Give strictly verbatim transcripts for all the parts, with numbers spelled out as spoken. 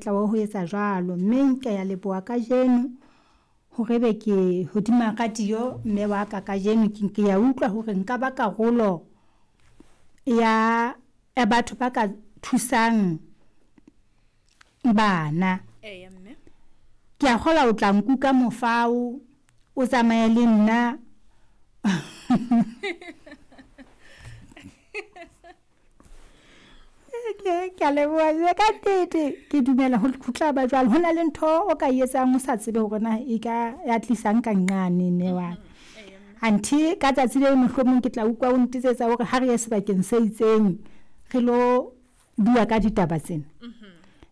monyetla wa ho etsa jwalo. Mme ke ya leboha kajeno hore be ke hodima radio mme wa ka kajeno ke ya utlwa hore nka ba karolo ya ya batho ba ka thusang bana. Eya mme. Ke a kgolwa o tla nkuka mofao, o tsamaye le nna. Ke a leboha ka nnete, ke dumela ho tla ba jwalo. Ho na le ntho o ka e etsang o sa tsebe hore na e ka ya tlisang ka nqane mme wa ka. Anthe ka tsatsi le mohlomong ke tla utlwa o ntetsetsa hore ha re ye sebakeng se itseng re lo bua ka ditaba tsena.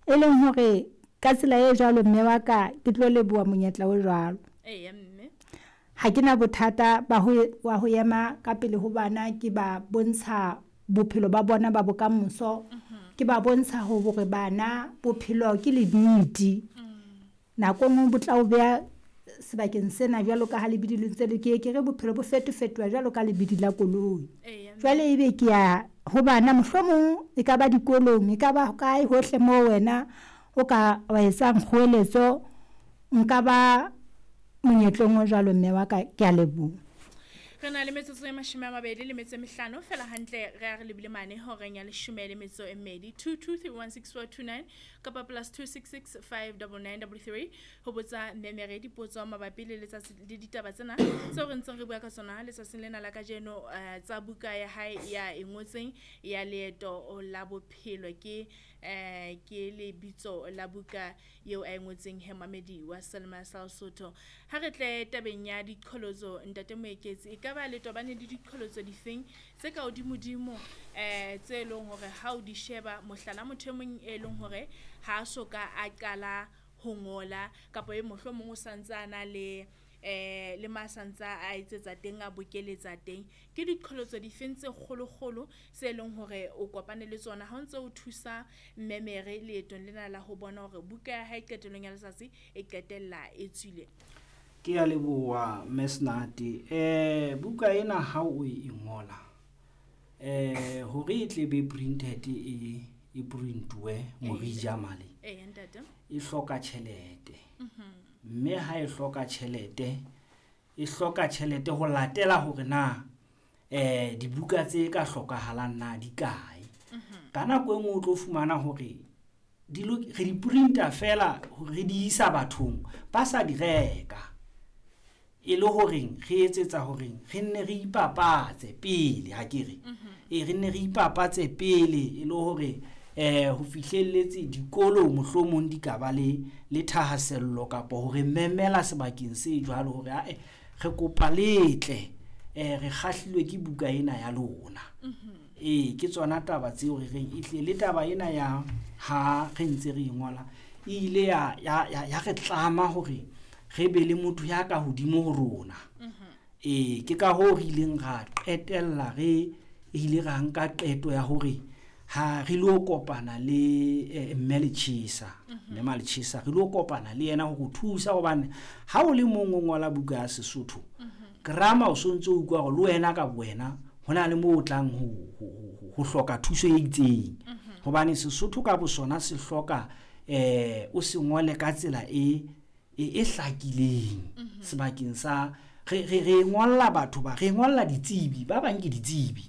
E leng hore ka tsela e jwalo mme wa ka, ke tlo leboha monyetla o jwalo. Eya mme. Ha ke na bothata ba ho wa ho ema ka pele ho bana ke ba bontsha bophelo ba bona ba bokamoso. Ke ba bontsha hore bana bophelo ke lebidi. Nako e nngwe bo tla o beha sebakeng sena jwalo ka ha lebidi le ntse le ke ye ke re bophelo bo fetofetoha jwalo ka lebidi la koloi. Jwale ebe ke ya ho bana mohlomong e ka ba dikolong, e ka ba kae hohle moo wena o ka wa etsang kgoeletso. Nka ba monyetleng o jwalo mme wa ka, ke a leboha. Re na le metsotso e mashome a mabedi le metso e mehlano fela hantle re a re lebile mane horeng ya leshome le metso e mmedi. Two two three one six four two nine kapa plus two six six five double nine double three ho botsa Mme Mere dipotso mabapi le letsatsi le ditaba tsena tseo re ntseng re bua ka tsona letsatsing lena la kajeno, eh, tsa buka ya hae ya e ngotseng ya leeto la bophelo. Ke eh ke lebitso la buka eo a e ngotseng he mamedi wa Selma sa Lesotho. Ha re tle tabeng ya diqholotso ntate Moeketsi, e ka ba le tobane le diqholotso difeng tse ka hodimodimo eh tse leng hore ha o di sheba, mohlala motho e mong e leng hore ha a soka a qala ho ngola kapa e mohlomong o santse a na le eh le ma santsa a etsetsa teng, a bokeletsa teng, ke diqholotso difeng tse kgolokgolo tse leng hore o kopane le tsona ha o ntse o thusa Mme Mere leetong lena la ho bona hore buka ya hae qetellong ya letsatsi e qetella e tswile? Ke a leboha Mme Senate. Eh buka ena ha o e ngola, eh hore e tle be printed e e printuwe Morija male. Eya ntate. E hloka tjhelete. Mme ha e hloka tjhelete, e hloka tjhelete ho latela hore na eh dibuka tse ka hlokahalang na di kae. Ka nako e nngwe o tlo fumana hore di re di printer fela hore re di isa bathong ba sa di reka. E le horeng re etsetsa horeng re nne re ipapatse pele akere. E re nne re ipapatse pele e le hore eh ho fihlelletse dikolo mohlomong di ka ba le le thahasello kapa hore memela sebakeng se jwalo hore ae re kopa letle eh re kgahlilwe ke buka ena ya lona. Ee, ke tsona taba tseo re reng e tle le taba ena ya ha re ntse re e ngola e ile ya ya ya re tlama hore re be le motho ya ka hodimo ho rona. Ee, ke ka hoo re ileng ra qetella re ile ra nka qeto ya hore ha re lo kopana le Mme Letjhesa, Mme Maletjhesa re lo kopana le yena ho thusa hobane ha o le mong o ngola buka ya Sesotho, grammar o sontso o utlwa hore le wena ka bowena ho na le moo o tlang ho ho hloka thuso e itseng. Hobane Sesotho ka bosona se hloka eh o se ngole ka tsela e e hlakileng sebakeng sa re re re ngolla batho ba re ngolla ditsebi ba bang ke ditsebi.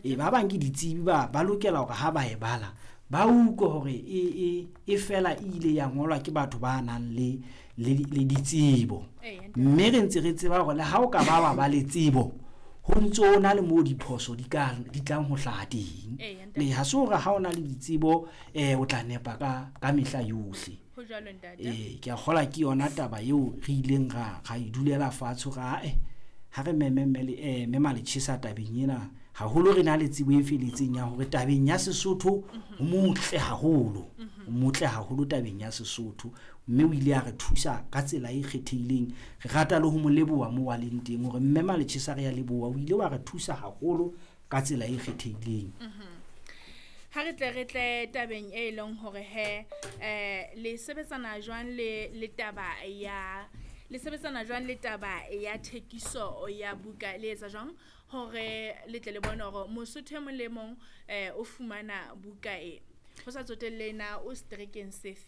E ba bang ke ditsebi ba ba lokela hore ha ba e bala ba utlwe hore e e e fela e ile ya ngolwa ke batho ba nang le le le ditsebo. Mme re ntse re tseba hore le ha o ka ba wa ba le tsebo ho ntso o na le moo diphoso di ka di tlang ho hlaha teng. Le ha se hore ha o na le ditsebo eh o tla nepa ka ka mehla yohle. Ho jwalo ntate. Eh ke a kgola ke yona taba eo re ileng ra ra e dulela fatshe ra eh ha re meme mme le eh Mme Maletjhesa tabeng ena haholo re na le tsebo e feletseng ya hore tabeng ya Sesotho ho motle haholo, ho motle haholo tabeng ya Sesotho, mme o ile a re thusa ka tsela e kgethehileng. Re rata le ho mo leboha moo a leng teng hore Mme Maletjhesa re a leboha, o ile wa re thusa haholo ka tsela e kgethehileng. Ha re tle re tle tabeng e leng hore he eh le sebetsana jwang le le taba ya le sebetsana jwang le taba ya thekiso ya buka, le etsa jwang hore le tle le bone hore Mosotho e mong le mong eh o fumana buka e ho sa tsotelle na o setrekeng sefe?